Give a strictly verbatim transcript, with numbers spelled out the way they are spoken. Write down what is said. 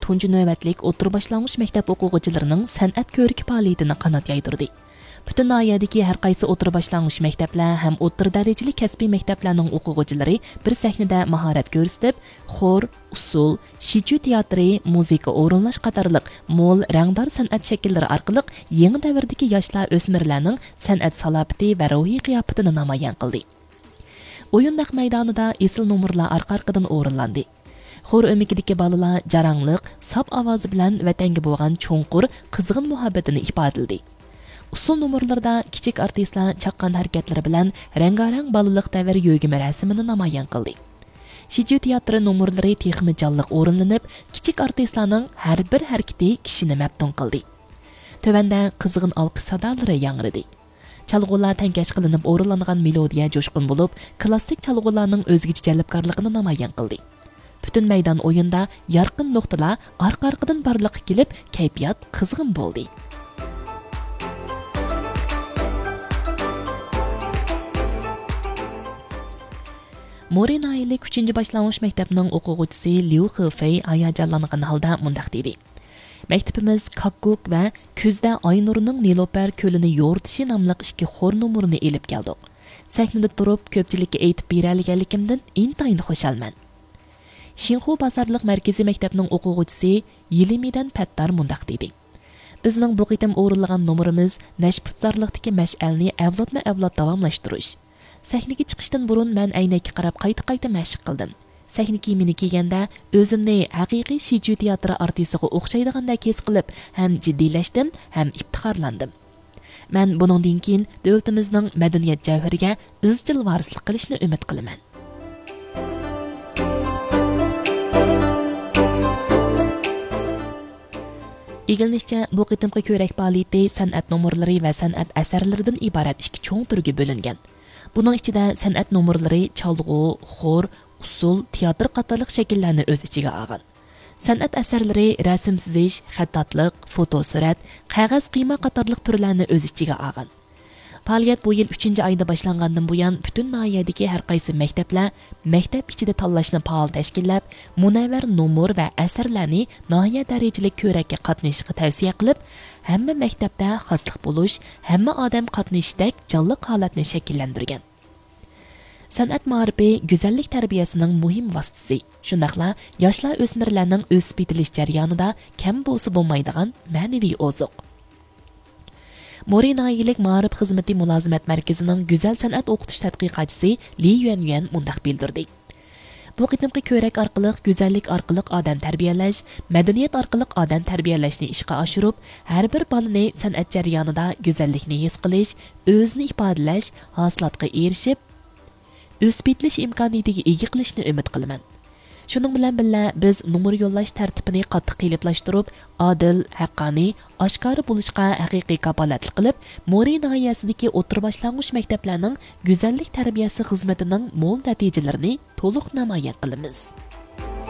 تۇنجى نۆۋەتلىك ئوتتۇرا باشلانغۇچ مەكتەپ ئوقۇغۇچىلىرىنىڭ سەنئەت كۆرىكى پائالىيىتىنى قانات يايدۇردى. پۈتۈن ناھىيەدىكى ھەر قايسى ئوتتۇرا باشلانغۇچ مەكتەپلەر ھەم ئوتتۇرا دەرىجىلىك كەسپىي مەكتەپلەرنىڭ ئوقۇغۇچىلىرى بىر سەھنىدە ماھارەت كۆرسىتىپ، خور، ئۇسسۇل، شىجۈ تىياتىرى، مۇزىكا ئورۇنلاش قاتارلىق مول رەڭدار سەنئەت شەكىللىرى ئارقىلىق يېڭى دەۋردىكى ياشلار، ئۆسمۈرلەرنىڭ سەنئەت سالاپىتى ۋە روھىي قىياپىتىنى نامايان قىلدى. ئويۇن نەق مەيدانىدا ئېسىل نومۇرلار ئارقا-ئارقىدىن ئورۇنلاندى. خور ئۆمىكىدىكى بالىلار جاراڭلىق، ساپ ئاۋازى بىلەن ۋەتەنگە بولغان چوڭقۇر، قىزغىن مۇھەببىتىنى ئىپادىلىدى. ئۇسسۇل نومۇرلىرىدا كىچىك ئارتىسلار چاققان ھەرىكەتلىرى بىلەن رەڭگارەڭ بالىلىق دەۋر يۆگىمە رەسىمىنى نامايان قىلدى. شىجۈ تىياتىرى نومۇرلىرى تېخىمۇ جانلىق ئورۇنلىنىپ، كىچىك ئارتىسلارنىڭ ھەر بىر ھەرىكىتى كىشىنى مەپتۇن قىلدى. تۆۋەندە قىزغىن ئالقىش سادالىرى ياڭرىدى. چالغۇلار تەڭكەش قىلىنىپ ئورۇنلانغان مېلودىيە جۇشقۇن بولۇپ، كلاسسىك چالغۇلارنىڭ ئۆزگىچە جەلپكارلىقىنى نامايان قىلدى. پۈتۈن مەيدان ئويۇندا يارقىن نۇقتىلار ئارقا-ئارقىدىن بارلىققا كېلىپ، كەيپىيات قىزغىن بولدى. مورى ناھىيەلىك ئۈچىنچى باشلانغۇچ مەكتەپنىڭ ئوقۇغۇچىسى ليۇ خېفېي ھاياجانلانغان ھالدا مۇنداق دېدى: مەكتىپىمىز كاككۇك ۋە كۈزدە ئاينۇرنىڭ نېلۇپەر كۆلىنى يورۇتۇشى ناملىق ئىككى خور نومۇرىنى ئېلىپ كەلدۇق. سەھنىدە تۇرۇپ، كۆپچىلىككە ئېيتىپ بېرەلىگەنلىكىمدىن ئىنتايىن خۇشالمەن. شىنخۇ بازارلىق مەركىزىي مەكتەپنىڭ ئوقۇغۇچىسى يىلىمىدەن پەتتار مۇنداق دېدى: بىزنىڭ بۇ قېتىم ئورۇنلىغان نومۇرىمىز نەشپۈتزارلىقتىكى مەشئەلنى ئەۋلادمۇ ئەۋلاد داۋاملاشتۇرۇش. سەھنىگە چىقىشتىن بۇرۇن مەن ئەينەككە قاراپ قايتا-قايتا مەشىق قىلدىم. سەھنە كىيىمىنى كىيگەندە ئۆزۈمنى ھەقىقىي شىجۈ تىياتىرى ئارتىسىغا ئوخشايدىغاندەك ھېس قىلىپ، ھەم جىددىيلەشتىم، ھەم ئىپتىخارلاندىم. مەن بۇنىڭدىن كېيىن دۆلىتىمىزنىڭ مەدەنىيەت جەۋھىرىگە ئىزچىل ۋارىسلىق قىلىشنى ئۈمىد قىلىمەن. ئىگىلىنىشىچە، بۇ قېتىمقى كۆرەك پائالىيىتى سەنئەت نومۇرلىرى ۋە سەنئەت ئەسەرلىرىدىن ئىبارەت ئىككى چوڭ تۈرگە بۆلۈنگەن. بۇنىڭ ئىچىدە سەنئەت نومۇرلىرى، چالغۇ، خور، ئۇسسۇل، تىياتىر قاتارلىق شەكىللەرنى ئۆز ئىچىگە ئالغان. سەنئەت ئەسەرلىرى رەسىم سىزىش، خەتتاتلىق، فوتو سۈرەت، قەغەز قىيما قاتارلىق تۈرلەرنى ئۆز ئىچىگە ئالغان. پائالىيەت بۇ يىل ئۈچىنچى ئايدا باشلانغاندىن بۇيان، پۈتۈن ناھىيەدىكى ھەر قايسى مەكتەپلەر مەكتەپ ئىچىدە تاللاشنى پائال تەشكىللەپ، مۇنەۋۋەر نومۇر ۋە ئەسەرلەرنى ناھىيە دەرىجىلىك كۆرەككە قاتنىشىشقا تەۋسىيە قىلىپ، ھەممە مەكتەپتە خاسلىق بولۇش، ھەممە ئادەم قاتنىشىشتەك جانلىق ھالەتنى شەكىللەندۈرگەن. سەنئەت مائارىپى گۈزەللىك تەربىيەسىنىڭ مۇھىم ۋاسىتىسى، شۇنداقلا ياشلار، ئۆسمۈرلەرنىڭ ئۆسۈپ يېتىلىش جەريانىدا كەم بولسا بولمايدىغان مەنىۋى ئوزۇق. مورى ناھىيەلىك مائارىپ خىزمىتى مۇلازىمەت مەركىزىنىڭ گۈزەل سەنئەت ئوقۇتۇش تەتقىقاتچىسى لى يۈەنيۈەن مۇنداق بىلدۈردى: بۇ قېتىمقى كۆرەك ئارقىلىق گۈزەللىك ئارقىلىق ئادەم تەربىيەلەش، مەدەنىيەت ئارقىلىق ئادەم تەربىيەلەشنى ئىشقا ئاشۇرۇپ، ھەر بىر بالىنى سەنئەت جەريانىدا گۈزەللىكنى ھېس قىلىش، ئۆزىنى ئىپادىلەش، ھاسىلاتقا ئېرىشىپ، ئۆسۈپ يېتىلىش ئىمكانىيىتىگە ئىگە قىلىشنى ئۈمىد قىلىمەن. شۇنىڭ بىلەن بىللە، بىز نومۇر يوللاش تەرتىپىنى قاتتىق قېلىپلاشتۇرۇپ، ئادىل، ھەققانىي، ئاشكارا بولۇشقا ھەقىقىي كاپالەتلىك قىلىپ، مورى ناھىيەسىدىكى ئوتتۇرا باشلانغۇچ مەكتەپلەرنىڭ گۈزەللىك تەربىيەسى خىزمىتىنىڭ مول نەتىجىلىرىنى تولۇق نامايان قىلىمىز.